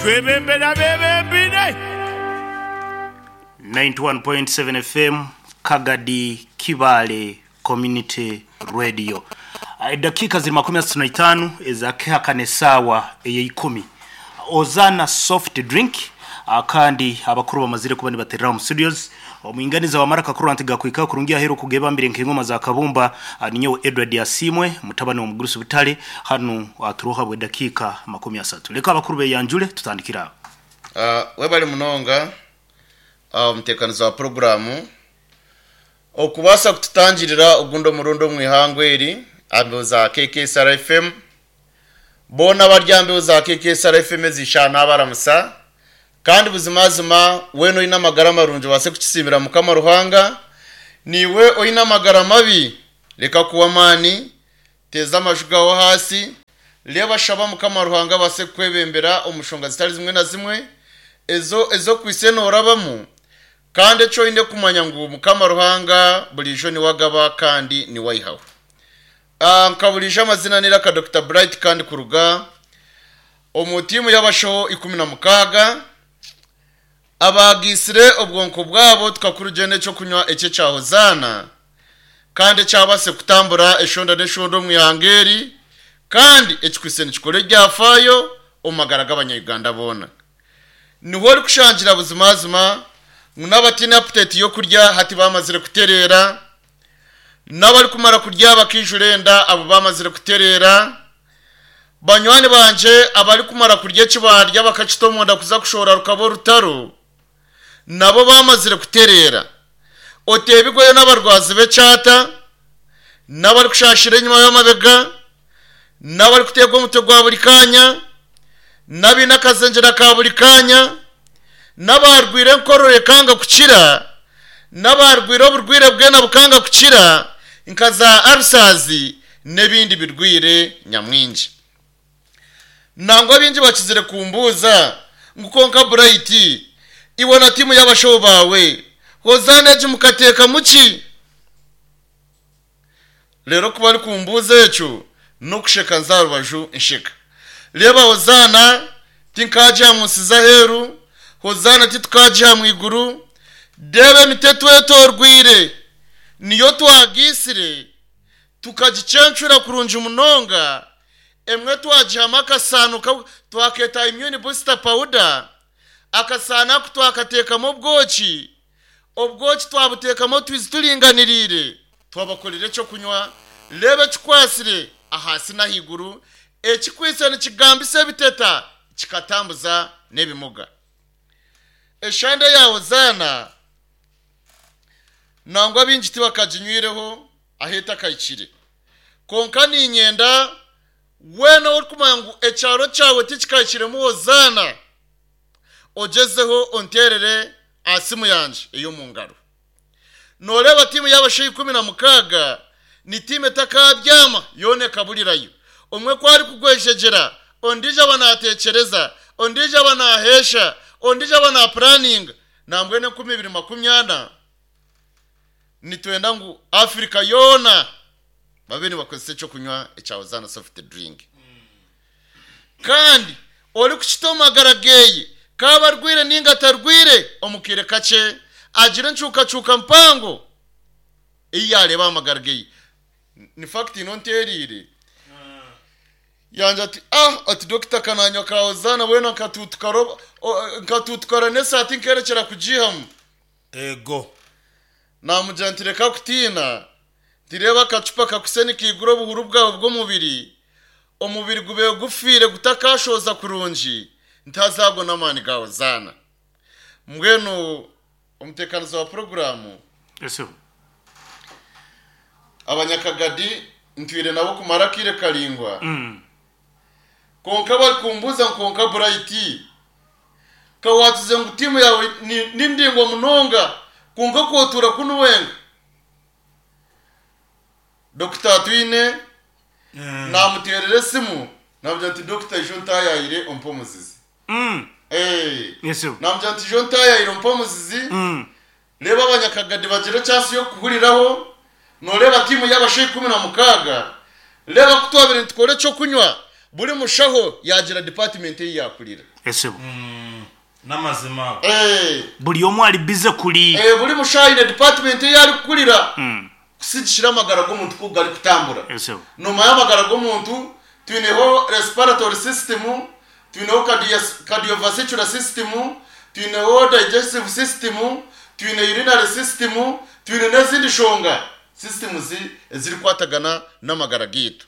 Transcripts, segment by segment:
Twebembere abeebembeire. 91.7 FM Kagadi Kibaale Community Radio. Edakiika ziri 35 ezakihakana esaawa eyeikumi. Ozana soft drink kandi abakuru bamazire kuba nibaterera omu studios. Omwinganiza wa maraka kurwa nti gakwika kurungi ahero kugebambire nk'engoma za kabumba ninyowe Edward Asimwe mutabani wa Mugurusi Butale hanu aturoha bwe dakika 30. Leka abakuru beyanjule tutandikira. Webale munonga omuteekanizi wa puroguraamu okubaasa kututangirira ogundi omurundi omu ihangwe eri aha mbeho za KKSR FM. Boona abari aha mbeho za KKSR FM ezi shaaha naabaramusa kandi buzimazima weena oine amagara marungi obaase kukisiimira Mukama Ruhanga. Naiwe oine amagara mabi reka kuhwa amaani, teeza amaju gaawe ahaasi, reeba shaba Mukama Ruhanga abaase kukwebembera omu nshonga zitari zimwe na zimwe ezo ezi okwaitse noorabamu. Kandi eki oine kumanya ngu Mukama Ruhanga buriijo niwe agaba kandi niwe aihaho. Nka buriijo amazina n'eiraka Dokita Bright kandi kuruga omu tiimu y'abashaho 16 abaagaitsire obwonko bwabo tukakurugyena eky'okunywa eki ekya Hozaana kandi ekyabaase kutambura eshonda n'eshonda omu ihanga eri kandi ekikwaitse nikikora ebyafaayo omu magara g'abanya-Uganda boona. Niho orikushangira buzimazima ngu n'abataine aputeti y'okurya hati baamazire kutereera, n'abarikumara kurya bakaijura enda abo baamazire kutereera. Banywani bangye abarikumara kurya eki baarya bakakita omunda kuza kushohora rukaba orutaro, nabo baamazire kutereera. Oteebigweyo n'abarwazi b'ekyata, n'abarikushaashira enyima y'amabega, n'abarikuteegwa omutwe gwa buri kaanya, n'abaine akazengyera ka buri kaanya, n'abaarwaire enkorora ekanga kukira, n'abaarwaire oburwaire bwena bukanga kukira nka za alusazi n'ebindi birwaire nyamwingi. Nangwa baingi bakizire kumbuuza ngu kwonka Bright, iwe na tiimu y'abashaho baawe, Hozaana egi mukateekamu ki? Reero ku barikumbuuza ekyo, n'okusheka nza aha rubaju nsheka. Reeba Hozaana tinkaagiha mu nsi z'aheeru, Hozaana titukaagiha mu iguru. Reeba emiti etwetorweire, niyo twagaitsire, tukagicencura kurungi munonga, emwe twagihamu akasaano twakeeta immune booster powder, akasaano aku twakateekamu obwoki, Obwoki twabuteekamu otwizi turinganiriire, twabakorera eky'okunywa, reeba ekikwatsire ahansi n'ahaiguru, ekikwaitse nikigambisa ebiteta, kikatambuza n'ebimuga. Eshande ya Hozaana nangwa baingi tibakaginywireho ahu etakahikire. Kwonka niinyenda weena orikumanya ngu ekyaro kyawe tikikahikiremu Hozaana, Ogyezeho onteerere aha simu yangye ey'omu ngaro. Nooreeba tiimu y'abashaija 16 ni tiimu etakaabyama yoona ekaburirayo. Omwe ku arikugwejegyera, ondiijo aba naateekyereza, ondiijo aba naaheesha, ondiijo aba naapuraninga. Nambwenu 2040 nitwenda ngu Africa yoona babe nibakozesa eky'okunywa ekya Hosanna Soft Drink. Kandi orikukita omu magara geeye, k'abe arwaire nainga atarwaire, omu kaire kakye agira encuukacuuka mpango ei yaareeba aha magara geeye. Ni fact ino nteereire. Yangira ati, Ah, ati dokita ka naanywa ka Hosanna bwena nkatuutukara nkatuutukara n'esaati nkeerekyera kugiihamu. Eego. Naamugira nti, Reka kutiina. Nti, Reeba akacupa kakwitse nikaigura obuhuru bwawe bw'omubiri, omubiri gubaire gufiire gutakashohoza kurungi, nti haza ago n'amaani ga Hozaana. Mbwenu omuteekanizi wa puroguraamu, Abanyakagadi ntwire nabo kumara akaire karaingwa, kwonka barikumbuuza ngu kwonka Bright, ka waatuze ngu tiimu yaawe ni ndaingwa munonga, kwonka ku otuura kunu wenka? Dokita Atwine naamuteerera esimu naamugira nti Dokita ijo ntaayaayire ompe omuzizi. Naamugira nti ijo ntaayaayire ompe omuzizi, reeba abanyakagadi bagire chance y'okukuhuriraho, nooreeba tiimu y'abashaho 16, reeba ku twabaire nitukora eky'okunywa, buri mushaho yaagira department ei yaakurira. Esebo. N'amazima ago. Eh. Buri omwe ari busy kuri. Eh, buri mushaho aine department ei arikukurira kusigikira amagara g'omuntu ku garikutambura. Esebo. Noomanya amagara g'omuntu twineho respiratory system, twineho cardiovascular system, twineho digestive system, twine urinary system, twine n'ezindi nshonga systems ezirikwatagana n'amagara gaitu.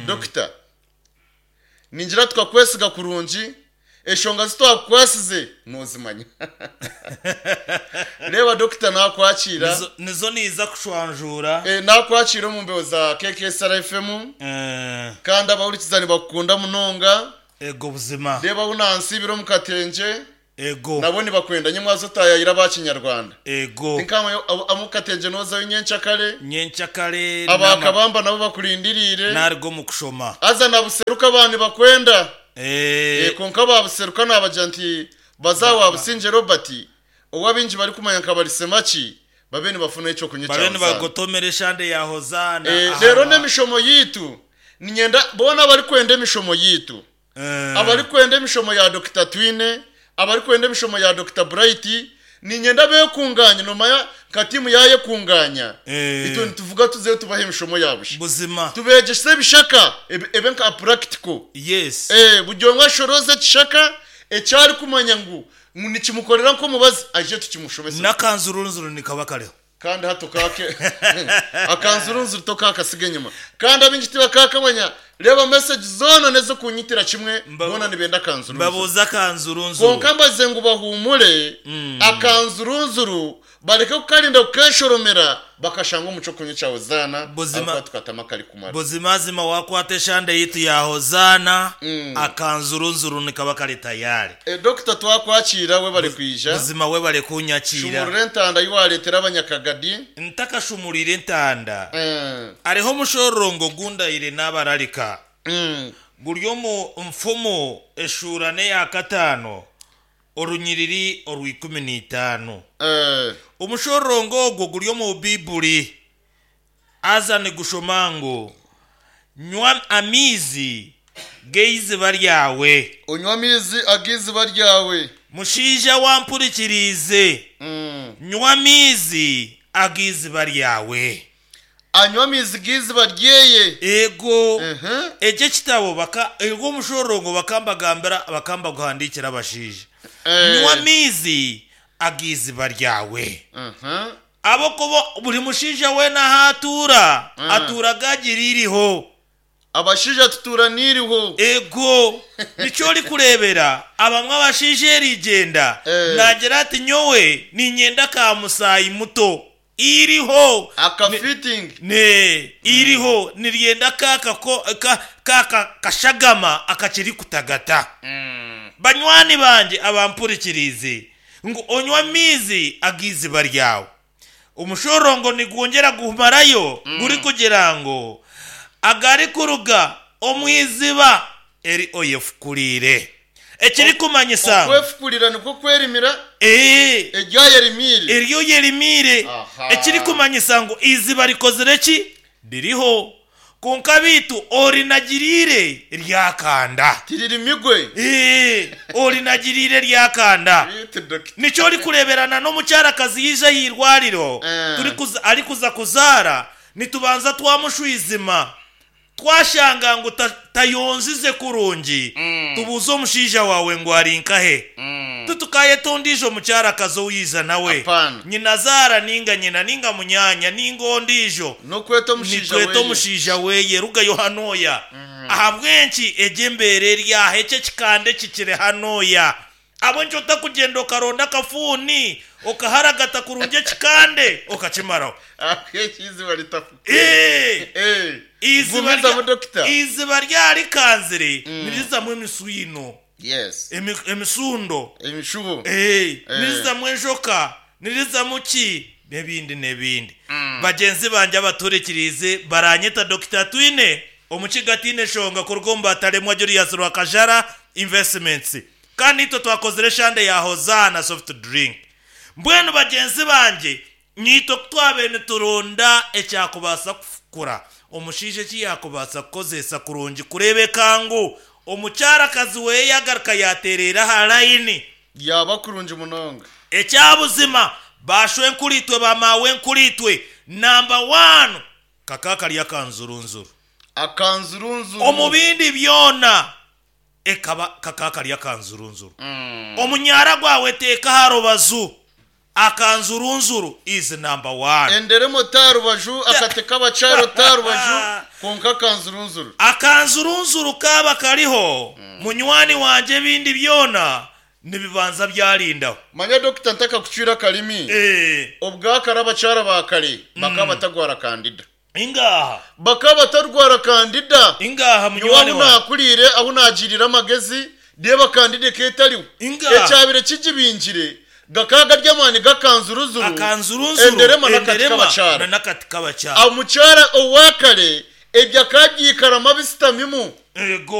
Dokita, ningira tukakwesiga kurungi, eshonga zi twakukwasize noozimanya. Reeba dokita naakwakiira. Nizo, nizo niiza kushwanjuura. Eh, naakwakiira omu mbeho za KKSR FM Eh, kandi abahurikiza nibakukunda munonga. ego buzima. Reeba ahu nansiibire omu katengye. Ego. Nabo nibakwenda nyimwaza otayayira aba kinyarwanda. Ego. Tinkamanya amu katengye nozayo nyenkyakare. Nyenkyakare. Aba kabamba nabo bakurindiriire. Naruga omu kushoma. Haza na buseruka aba nibakwenda. Eh. Kwonka aba buseruka nabagira nti baze aha wa Busingye Robert ou abaingi barikumanya nka Barisemaki babe nibafuna ekyokunywa Babe ekya Hozaana. nibagotomera eshande ya Hozaana. Reero n'emishomo yaitu niinyenda boona abarikwenda emishomo yaitu, abarikwenda emishomo ya Dokita Twine, abarikwenda emishomo ya Dokita Bright, niinyenda beekungaanye, noomanya nka tiimu yaayekunganya, itwe nituvuga tuzeyo tubahe emishomo ya busha. Buzima. Tubeegyese ebishaka ebe nka practical. Yes. Buri omwe ashorooze ekishaka eki arikumanya ngu nikimukorera nk'omubazi aije tukimushomese. N'akanzurunzuru nikaba kariho. Kandi hati okaake akanzurunzuru tokaakasiga enyima. Kandi abaingi tibakaakamanya. Reeba message zoona n'ez'okunyitira kimwe boona nibenda akanzurunzuru. Mbabuuze akanzurunzuru. Kwonka mbaze ngu bahuumure akanzurunzuru bareke kukarinda kukeeshoromera bakashanga omu ky'okunywa kya Hozaana Buzima ahabw'okuba tukatamu akarikumara. Buzimazima waakwata eshande yaitu ya Hozaana akanzurunzuru nikaba kari tayari. Dokita twakwakiira webare kwija. Buzima webare kunyakiira. Shumurura entanda ei waareetera abanyakagadi. Ntakashumuriire entanda, hariho omushororongo ogu ndaire naabararika. Guri omu Nfumu eshuura n'eya kataano orunyiriri orw'ikumi n'eitaano. Omushororongo ogwo guri omu Baiburi. Haza nigushoma ngu, Nywa amaizi g'eiziba ryawe. Onywe amaizi ag'eiziba ryawe. Mushaija wampurikiriize, nywa amaizi ag'eiziba ryawe. Anywe amaizi g'eiziba ryeye. Eego, eki ekitabo baka, ogu omushororongo bakambagambira, bakambaguhandiikira abashaija. Nywa amaizi ag'eiziba ryawe. Ahabw'okuba buri mushaija weena ahu atuura, atuura gaagira eiriho. Abashaija tutuura n'eiriho. Eego, nikyo orikureebera abamwe abashaija erigyenda naagira ati nyowe niinyenda ka musaayi muto. Eiriho. Aka fitting. Ne, eiriho niryenda ka kako, ka, ka, ka, kashagama akakiri kutagata. Banywani bangye abampurikiriize, ngu onywe amaizi ag'eiziba ryawe. Omushororongo nigwongyera gumarayo gurikugira ngu, Agarikuruga omu iziba eri oyefukuriire. Ekirikumanyisa ngu. Okwefukurira nikwo kwerimira Ee. Eri oyerimiire. Eri oyerimiire. Aha. Ekirikumanyisa ngu eiziba rikozire ki? Ririho. Kwonka beitu orinagiriire ryakanda. Tiririmigwe. Ee, orinagiriire ryakanda. Beitu dokita. Nikyo orikureeberana n'omukyarakazi yaija aha irwariro, turikuza, arikuza kuzaara, nitubanza twamushwizima. Twashanga ngu ta, tayonzize kurungi, tubuuza omushaija waawe ngu ari nkahe. Titukaayeta ondiijo mukyarakazi ou yaija nawe, Apana. nyinazaara nainga nyina nainga munyaanya nainga ondiijo. N'okweta omushaija Nitweta weye. omushaija weye, rugayo hanooya. Ahabw'enki egi embeera eri aha, eki ekikanda eki kiri hanooya? Ahabw'enki otakugyenda okaronda akafuuni okaharagata kurungi ekikande okakimaraho? Ahabw'enki eiziba ritafuka? Ee! Ee! Eiziba Gumizamu rya- dokita. Eiziba ryarikanzire nirizamu emiswino, Yes. emi- emisundo. Emishubo. Ee, Eh. nirizamu enjoka, nirizamu ki n'ebindi n'ebindi. Bagyenzi bangye abatuhurikiriize baranyeta Dokita Twine Omukiga ataine nshonga kuruga omu Bataremwa Julius Rwakajara Investments. Kandi naitwe twakozire eshande ya Hozaana Soft Drink. Mbwenu bagyenzi bangye, naitwe ku twabaire nituronda ekyakubaasa kufukura omushaija eki yaakubaasa kukozeesa kurungi kureebeka ngu. Omukyarakazi weye yagaruka yatereera aha layini. Yaba kurungi munonga. Ekyabuzima bashwenkuritwe bamawenkuritwe namba wanu kaka kari akanzurunzuru. Akanzurunzuru. Omu bindi byona ekaba kaka kari akanzurunzuru. Omunyara gwawe teeka aha rubazu akanzurunzuru is number one. Enderemo ta rubaju akate k'abakyaro ta rubaju konka akanzurunzuru. Akanzurunzuru kaba kariho munywani wangye ebindi byona nibibanza byarindaho. Manya dokita ntakakucwire akarimi. Obwakare abakyara ba kare bakaba batagwara kandida. Ingaha. Bakaba batarwara kandida. Ingaha Nyowe munywani ahu wange. nakuriire ahu nagirire amagezi reeba kandida ekaba etariho. Ingaha. Ekyabire kigibingire gakaba gari amaani g'akanzuruzuru, Akanzurunzuru, enderema n'akati enderema k'abakyara. na n'akati k'abakyara. Omukyara owakare ebyo akaba abyikaramu abisitamimu. Ego.